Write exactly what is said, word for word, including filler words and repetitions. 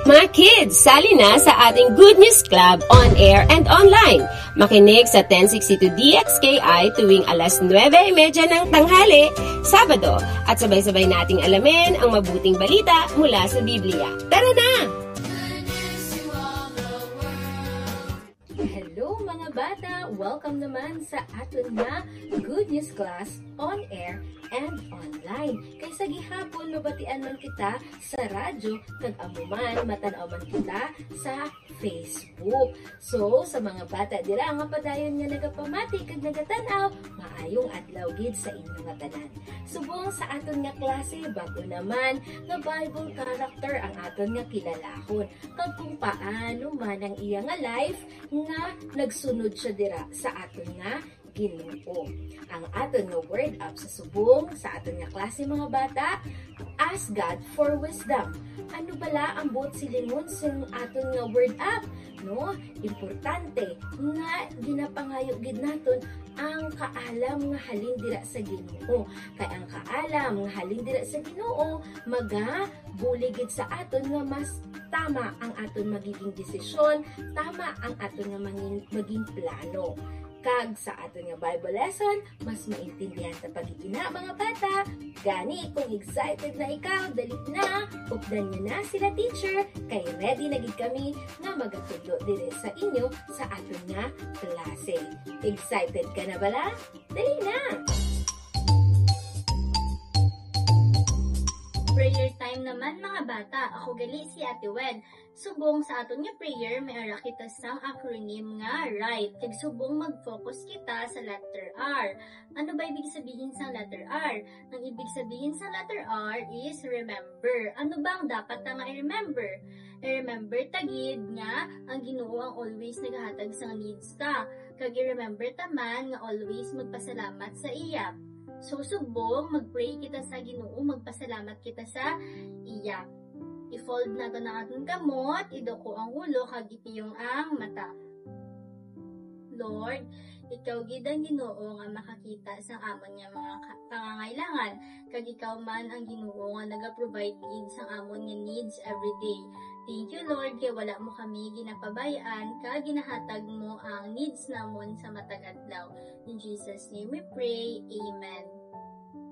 Mga kids, sali na sa ating Good News Club on air and online. Makinig sa ten sixty-two D X K I tuwing alas nuebe y medya ng tanghali, Sabado, at sabay-sabay nating alamin ang mabuting balita mula sa Biblia. Tara na! Hello, mga bata! Welcome naman sa aton nga Good News Class on air and online. Kay sa gihapon, mabatian man kita sa radyo, kag amo man, matan-aw man kita sa Facebook. So, sa mga bata dira nga padayon nga nagapamati kag nagatan-aw, maayong adlaw gid sa inyo nga tanan. Subong sa aton nga klase, bag-o naman nga Bible character ang aton nga kilalahon, kag kung paano man ang iya nga life nga nagsunod siya dira sa aton nga Ginoo. Ang aton nga word up sa subong sa aton nga klase, mga bata, ask God for wisdom. Ano bala ang buot silingon sang aton nga word up? No, importante nga ginapangayo gid naton ang kaalam nga halin dira sa Ginoo. Kay ang kaalam nga halin dira sa Ginoo magabulig gid sa aton nga mas tama ang aton magiging desisyon, tama ang aton nga mangin-, maging plano. Kag sa aton nga Bible lesson, mas maintindihan ta pa gid ina, mga bata. Gani, kung excited na ikaw, dali na, updan niyo na sila teacher, kay ready na gid kami nga magatudlo diri sa inyo sa aton nga klase. Excited ka na bala? Dali na! Prayer time naman, mga bata. Ako gali si Ate Wen. Subong sa aton nga prayer, may ara kita sang acronym nga RIGHT. Kag subong mag-focus kita sa letter R. Ano ba ibig sabihin sang letter R? Ang ibig sabihin sang letter R is remember. Ano ba ang dapat ta nga i-remember? I-remember ta gid nga ang Ginoo ang always nagahatag sang needs ta. Kag i-remember ta man nga always magpasalamat sa iya. So, subong, mag-pray kita sa Ginoo, magpasalamat kita sa iya. I-fold naton ang aton kamot, iduko ang ulo, kag ipiyong ang mata. Lord, ikaw gid ang Ginoo nga makakita sang amon nga mga ka-, pangangailangan, kag ikaw man ang Ginoo nga naga-provide gid sang amon nga needs every day. Thank you, Lord, kay wala mo kami ginapabay-an, kag ginahatag mo ang needs namon sa matag adlaw. In Jesus' name we pray. Amen.